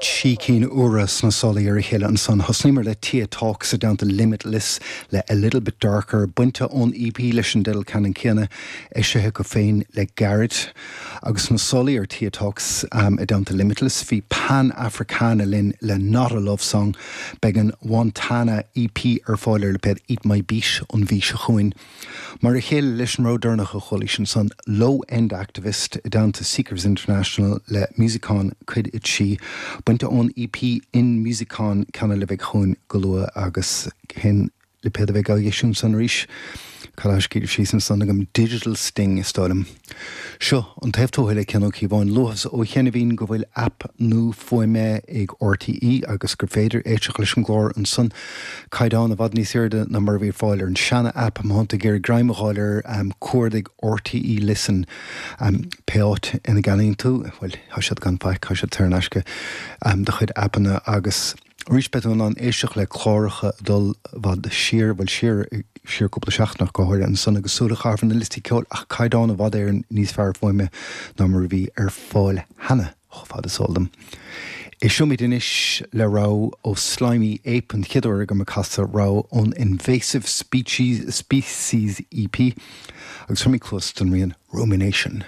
Trí cinn úra sna sálaí ar a chéile ansan. Thosnaíomar le Tia Talks i dteannta Limitless le A Little Bit Darker, bainte ón EP leis an dteideal ceannann céanna, eisithe acu féin le gairid. Agus sna sálaí ar Tia Talks i dteannta Limitless bhí Pan Africana linn le Not A Love Song. Beidh an Wantana EP ar fáil ar lipéad Eat My Beat an mhí seo chugainn. Mar a chéile leis an rogha deireanach a chualaís ansan, Low End Activist i dteannta Seekers International le Musicon Cuid 3, bainte ón EP In Musicon, ceann eile a bheidh chugainn go luath agus cén lipéad a bheidh á eisiúint san arís? Cad atá scríofa síos ansan agam? Digital Sting is dóigh liom. Seo an taobh tuaithe le Cian Ó Cíobháin. Luathas ó chianaibhín go bhfuil aip nua fuaime ag RTÉ agus gur féidir éisteacht leis an gclár ansan. Caighdeán i bhfad níos airde ná mar a bhí ar fáil ar an seana aip. Má thánn tú ag iarraidh greim a dh'fháil air, cuardaigh RTÉ Listen. Pé áit ina gceannaíonn tú, bhuel, tá siad gan faic, tá siad saor in aisce, do chuid aipeanna agus. Arís beidh tú in ann éisteacht le cláracha ag dul i bhfad siar, bhuel siar, siar cúpla seachtain ach go háirithe ansan agus súil a chaitheamh ar na liostaí ceoil ach caighdeán i bhfad Éireann níos fearr fuaime ná mar a bhí ar fáil cheana, chomh fada is eol dom. Éisteoimid anois le rogha ó Slimy Ape, an chéad uair agam ag casadh rogha ón Invasive Species, Species EP agus tabharfaimid cluas don rian Rumination.